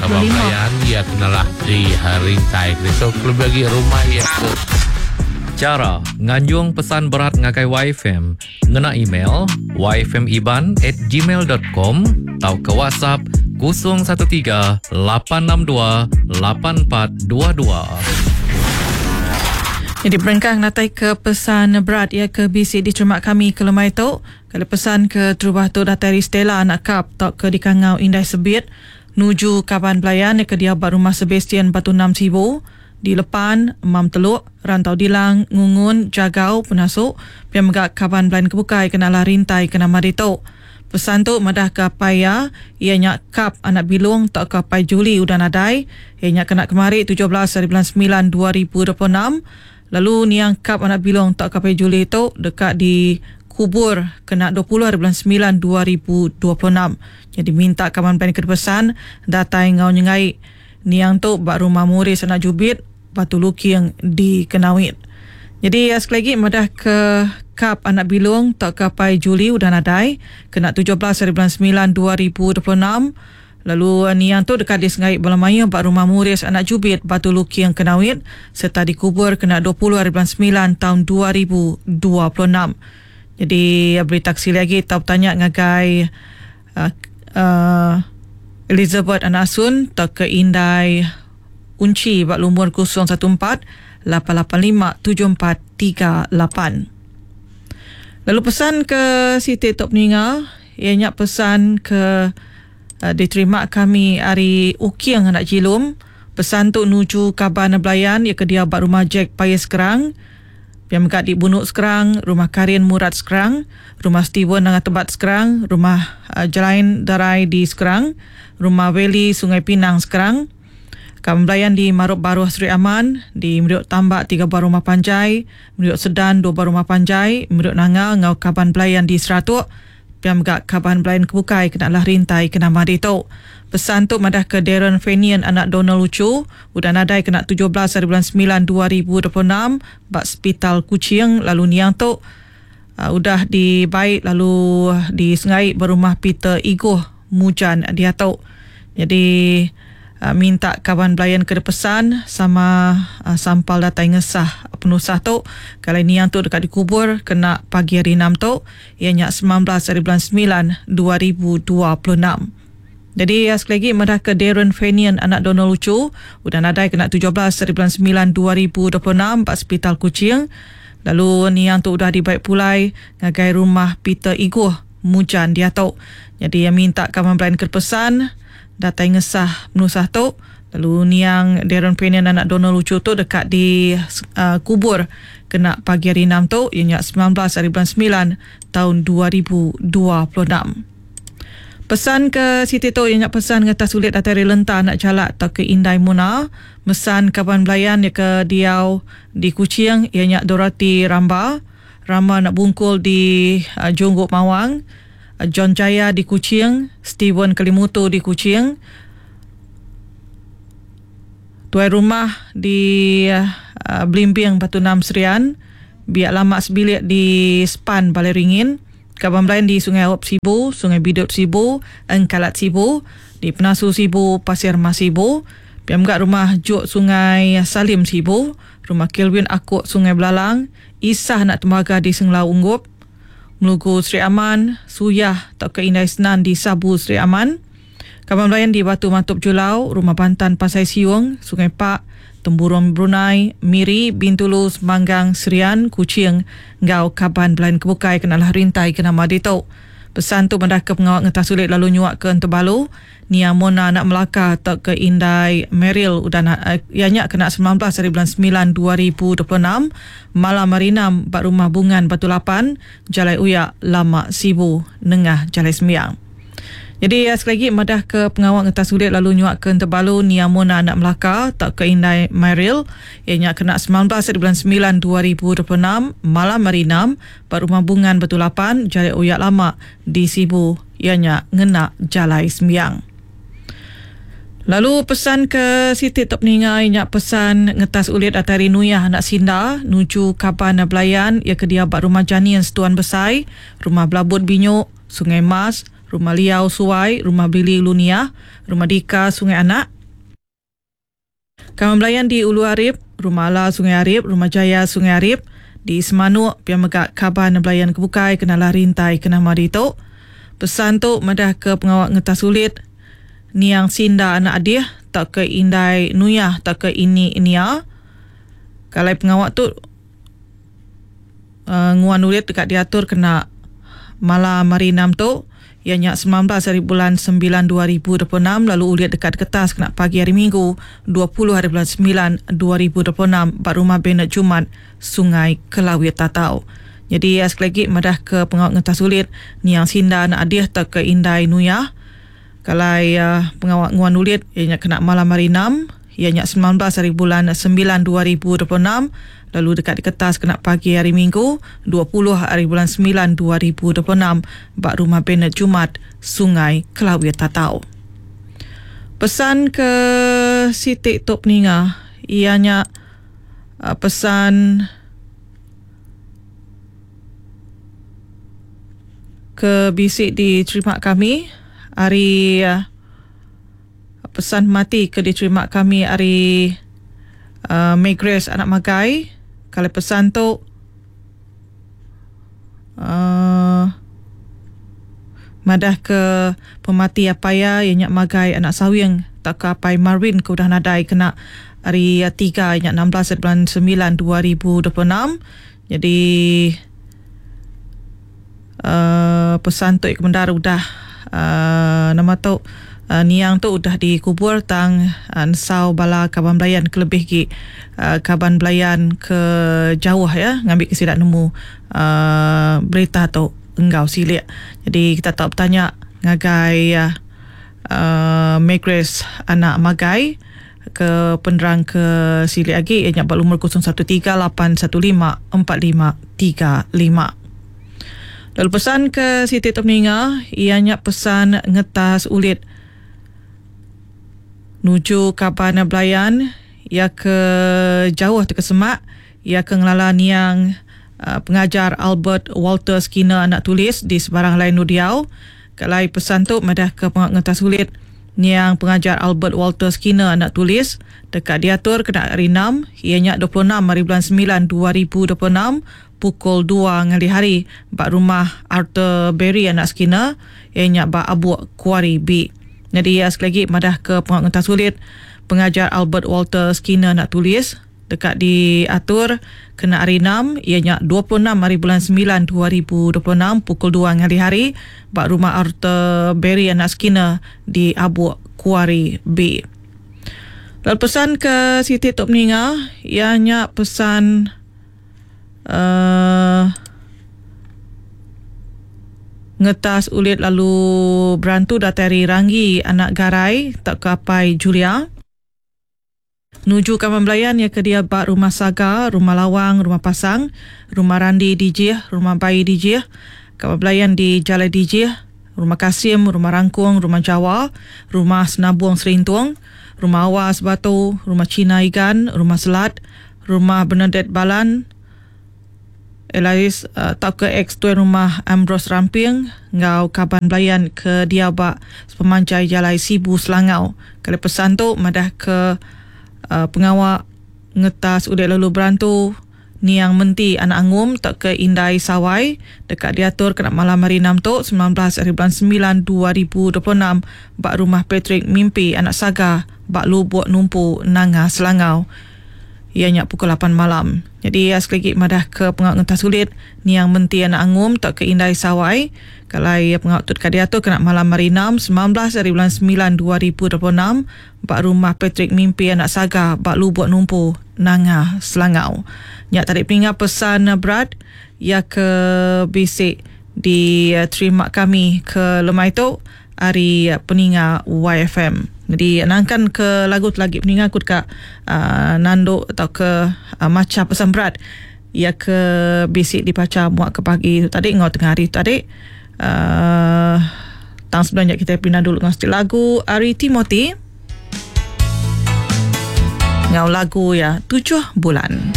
kaban 25. Belayan iya ke nalah di rintai ke ditu kelebih agi rumah iya ke Chara nganjung pesan berat ngagai YFM ngena email yfmiban at gmail dot com tauka WhatsApp 013 862 8422. Nyadi berengkah ngenatai ke pesan berat iya ke bisi diterima kami ke lemai tu. Kali pesan ke terubah tu datai ari Stella anak Kap tauka dikangau Indai Sebit nuju kaban belayan iya ke diau ba Rumah Sebastian Batu Enam Sibu di Lepan, Mam Teluk, Rantau Dilang, Ngungun, Jagau, Penasu, pia mega kaban belayan ke bukai ke nalah rintai ke nama ditu. Pesan tu madahka apai iya, iya nya Kap anak Bilung tauka apai Juli udah nadai, iya nya kena kemari 17 hari bulan semilan 2026, lalu niang Kap anak Bilung tauka apai Juli tu deka dikubur kena 20 hari bulan semilan 2026. Nyadi minta kaban band ke dipesan datai enggau nyengai niang tu ba Rumah Muris anak Jubit, Batu Luking di Kenawit. Nyadi sekali agi madah ke Kap anak Bilung tauka apai Juli udah nadai kena 17 hari bulan semilan 2026 lalu niang tu deka disengai bala mayuh ba Rumah Muris anak Jubit Batu Luking Kenawit sereta dikubur kena 20 hari bulan semilan taun 2026. Nyadi berita ke silik agi tau betanya ngagai uh, Elizabeth anak Asun tauka indai Unchi ba lumur 014 885 7438. Lalu pesan ke siti tu peninga iya nya pesan ke uh, diterima kami ari Uking anak Jilum. Pesan tu nuju kaban belayan iya ke diau ba rumah Jack Payes Skrang. Pia mega di Bunuk Skrang, Rumah Karin Murat Skrang, Rumah Steven Nanga Tebat Skrang, Rumah uh, Jelain Darai di Skrang, Rumah Valley Sungai Pinang Skrang. Kaban belayan di Marup Baruh Sri Aman, di Meriuk Tambak tiga buah rumah panjai, Meriuk Sedan dua buah rumah panjai, Meriuk Nanga enggau kaban belayan di Seratuk, pia mega kaban belayan ke bukai kena lah rintai ke nama ditu. Pesan tu madahka Darren Fenian anak Donald Uchu udah nadai kena 17 hari bulan semilan 2026 ba Sepital Kuching lalu niang tu uh, udah dibai lalu disengai ba rumah Peter Igoh Mujan diatu. Jadi uh, minta kaban belayan ke pesan sama uh, sampal datai ngesah penusah tu. Kalau niang tu dekat dikubur kena pagi hari 6 tu, ianya 19 hari bulan 9 2026. Jadi sekali lagi madah ke Darren Fenian anak Donald Lucu udah nadai kena 17 hari bulan 9 2026 ba Sepital Kuching. Lalu niang tu udah dibai pulai ngagai rumah Peter Iguh Mujan diatu. Jadi yang minta kaban belayan ke pesan datai ngesah penusah tu. Lalu niang Darren Fenian anak Donald Lucu tu dekat di kubur kena pagi hari 6 tu ianya 19 hari bulan 9 tahun 2026. Pesan ke siti tu ianya pesan ngetas sulit datai ari Lenta anak Jalak atau ke Indai Muna. Mesan kaban belayan ia ke diau di Kuching ianya Dorothy Ramba. Rama anak Bungkul di Jungguk Mawang. John Jaya di Kuching, Steven Kelimutu di Kuching. Tuai rumah di Belimbing Batu Enam Serian. Biak lama sebilik di Span Balai Ringin. Kaban belayan di Sungai Aup Sibu, Sungai Bidut Sibu, Engkalat Sibu, di Penasu Sibu, Pasir Mas Sibu, pia mega Rumah Juk Sungai Salim Sibu, Rumah Kelvin Akuk Sungai Belalang, Isah anak Tembaga di Senglau Unggup, Melugu Sri Aman, Suyah tauka Indai Senan di Sabu Sri Aman. Kaban belayan di Batu Matup Julau, Rumah Bantan Pasai Siung, Sungai Pak, Temburong Brunei, Miri, Bintulu, Semanggang, Serian, Kuching enggau kaban belayan ke bukai kena lah rintai ke nama ditu. Pesan tu madah ke pengawa ngetah sulit lalu nyuak ke Entebalu, Nia Mona anak Melaka tauka Indai Meryl udah iya nya kena 19 hari bulan 9 2026 malam hari 6 ba Rumah Bungan Batu Lapan, Jalai Uyak, Lama Sibu nengah Jalai Sembiang. Jadi sekali lagi madah ke pengawa ngetas sulit lalu nyuak ke Entebalu Nia Mona anak Melaka tauka Indai Meryl iya nya kena 19 hari bulan 9 2026 malam hari 6 ba Rumah Bungan Batu Lapan, Jalai Uyak Lama di Sibu iya nya ngena Jalai Sembiang. Lalu pesan ke siti tu peninga iya nya pesan ngetas ulit datai ari Nuyah anak Sinda nuju kaban belayan iya ke diau ba Rumah Janin Setuan Besai, Rumah Belabut Binyuk, Sungai Mas, Rumah Liau Suai, Rumah Billy Lunia, Rumah Dika Sungai Anak. Kaban belayan di Ulu Arip, Rumah Ala Sungai Arip, Rumah Jaya Sungai Arip, di Semanuk pia mega kaban belayan ke bukai ke nalah rintai ke nama ditu. Pesan tu madah ke pengawa ngetas ulit niang Sinda anak Adih tauka indai Nuyah tauka ini Nia. Ke alai pengawa tu nguan ulit deka diatur kena malam hari Enam tu iya nya 19 hari bulan 9 2026 lalu ulit deka diketas kena pagi hari Minggu 20 hari bulan 9 2026 ba Rumah Bernard Jumat Sungai Kelawit Tatau. Nyadi sekali agi madah ke pengawa ngetas ulit niang Sinda anak Adih tauka indai Nuyah ke alai pengawa nguan ulit iya nya kena malam hari Enam iya nya 19 hari bulan 9 2026 lalu deka diketas kena pagi hari Minggu 20 hari bulan 9 2026 ba Rumah Bernard Jumat, Sungai Kelawit Tatau. Pesan ke siti tu peninga iya nya pesan ke bisi diterima kami ari Pesan mati ke diterima kami ari May Grace anak Magai. Kali pesan tu madah ke pemati apai iya iya nya Magai anak Sawing tauka apai Marvin ke udah nadai kena hari tiga iya nya 16 bulan 9 2026. Jadi Pesan tu iya ke bendar udah nama tu niang tu udah dikubur tang nesau bala kaban belayan ke lebih agi kaban belayan ke jauh iya ngambi ke sida nemu berita tu enggau silik. Jadi kita tau betanya ngagai Magrace anak Magai ke penerang ke silik agi iya nya ba lumur 0138154535. Lalu pesan ke siti tu peninga iya nya pesan ngetas ulit nuju kaban belayan iya ke jauh tauka semak iya ke ngelala niang pengajar Albert Walter Skinner anak tulis di sebarang alai endur diau. Ke alai pesan tu madah ke pengawa ngetas ulit niang pengajar Albert Walter Skinner anak tulis deka diatur kena hari Enam iya nya 26 hari bulan 9 2026 pukul 2 ngalih hari ba rumah Arthur Berry anak Skinner iya nya ba Abuk Kuari B. Nyadi iya sekali agi madah ke pengawa ngetas ulit pengajar Albert Walter Skinner anak tulis deka diatur kena hari Enam iya nya 26 hari bulan 9 2026 pukul 2 ngalih hari ba Rumah Arthur Berry anak Skinner di Abuk Kuari B. Lalu pesan ke siti tu peninga iya nya pesan uhh ngetas ulit lalu berantu datai ari Ranggi anak Garai tauka apai Julia. Nuju kaban belayan iya ke diau ba Rumah Saga, Rumah Lawang, Rumah Pasang, Rumah Randi Dijih, Rumah Baie Dijih, kaban belayan di Jalai Dijih, Rumah Kasim, Rumah Rangkung, Rumah Jawa, Rumah Senabung Serintung, Rumah Awas Batu, Rumah China Igan, Rumah Selat, Rumah Bernadette Balan, Elias tauka ex tuan rumah Ambrose Ramping enggau kaban belayan ke diau ba sepemanjai Jalai Sibu Selangau. Kali pesan tu madah ke pengawa ngetas udik lalu berantu niang Menti anak Angum tauka Indai Sawai deka diatur kena malam hari Enam tu 19 hari bulan 9 2026 ba Rumah Patrick Mimpi anak Saga ba Lubok Numpu Nanga Selangau. Iya nya pukul 8 malam. Nyadi iya sekali agi madah ke pengawa ngentas ulit niang Menti anak Angum tauka Indai Sawai ke alai pengawa tu deka diatur kena malam hari Enam 19 ari bulan 9 2026 ba Rumah Patrick Mimpi anak Saga ba Lubok Numpu, Nanga Selangau. Nya tadi peninga pesan berat iya ke bisi diterima kami ke lemai tu. Ari peninga YFM. Jadi nangkan ke lagu tu lagi peninga aku deka uh, nandu tauka uh, macha pesan berat iya ke bisi dibacha muak ke pagi tu tadi enggau tengah hari tu tadi. Uh, tang sebelum nya kita pindah dulu enggau siti lagu ari Timothy. Enggau lagu ya Tujuh Bulan.